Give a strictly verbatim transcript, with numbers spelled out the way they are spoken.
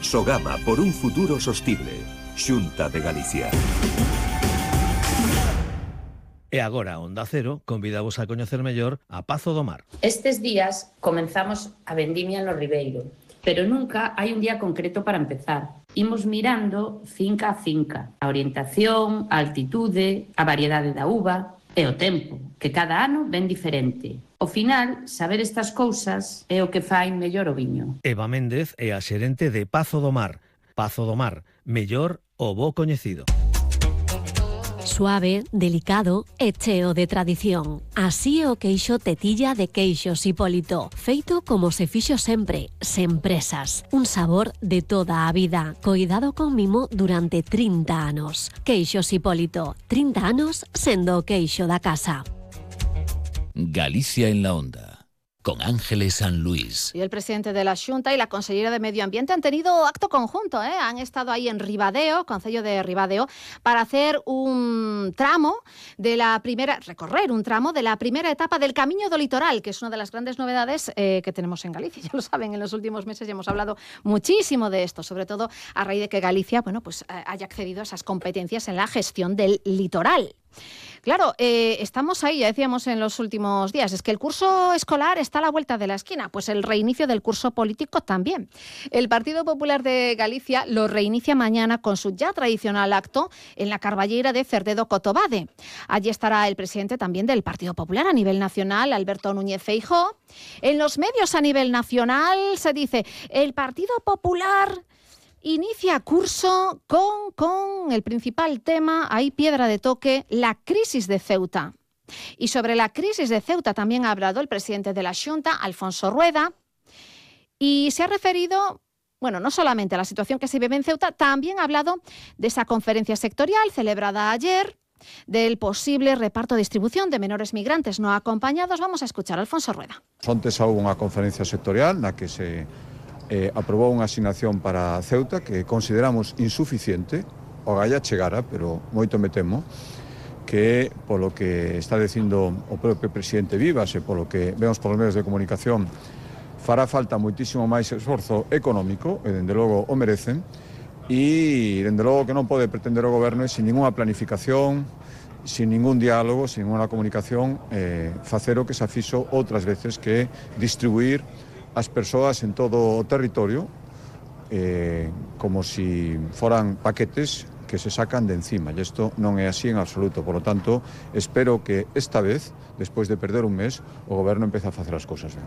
Sogama por un futuro sostible. Xunta de Galicia. E agora, Onda Cero, convidamos a coñecer mellor a Pazo do Mar. Estes días comenzamos a vendimia no Ribeiro, pero nunca hai un día concreto para empezar. Imos mirando finca a finca, a orientación, a altitude, a variedade da uva e o tempo, que cada ano ven diferente. Ao final, saber estas cousas é o que fai mellor o viño. Eva Méndez é a xerente de Pazo do Mar. Pazo do Mar, mellor o bo coñecido. Suave, delicado e cheo de tradición. Así é o queixo tetilla de Queixos Hipólito, feito como se fixo sempre, sen presas. Un sabor de toda a vida, coidado con mimo durante trinta anos. Queixos Hipólito, trinta anos sendo o queixo da casa. Galicia en la Onda, con Ángeles San Luis. Y el presidente de la Xunta y la consellera de Medio Ambiente han tenido acto conjunto, ¿eh? Han estado ahí en Ribadeo, concello de Ribadeo, para hacer un tramo de la primera, recorrer un tramo de la primera etapa del Camiño do Litoral, que es una de las grandes novedades eh, que tenemos en Galicia. Ya lo saben, en los últimos meses ya hemos hablado muchísimo de esto, sobre todo a raíz de que Galicia, bueno, pues eh, haya accedido a esas competencias en la gestión del litoral. Claro, eh, estamos ahí, ya decíamos en los últimos días, es que el curso escolar está a la vuelta de la esquina, pues el reinicio del curso político también. El Partido Popular de Galicia lo reinicia mañana con su ya tradicional acto en la Carballeira de Cerdedo Cotobade. Allí estará el presidente también del Partido Popular a nivel nacional, Alberto Núñez Feijóo. En los medios a nivel nacional se dice, el Partido Popular inicia curso con, con el principal tema, ahí piedra de toque, la crisis de Ceuta. Y sobre la crisis de Ceuta también ha hablado el presidente de la Xunta, Alfonso Rueda, y se ha referido, bueno, no solamente a la situación que se vive en Ceuta, también ha hablado de esa conferencia sectorial celebrada ayer, del posible reparto e distribución de menores migrantes no acompañados. Vamos a escuchar a Alfonso Rueda. Ontes houve unha conferencia sectorial na que se Eh, aprobou unha asignación para Ceuta que consideramos insuficiente, o galla chegara, pero moito me temo, que polo que está dicindo o propio presidente Vivas e polo que vemos polos medios de comunicación, fará falta moitísimo máis esforzo económico, e dende logo o merecen, e dende logo que non pode pretender o goberno e sin ninguna planificación, sin ningún diálogo, sin ninguna comunicación, eh, facer o que se fixo outras veces, que distribuir as persoas en todo o territorio eh, como si foran paquetes que se sacan de encima, e isto non é así en absoluto. Por lo tanto, espero que esta vez, despois de perder un mes, o goberno empece a facer as cousas ben.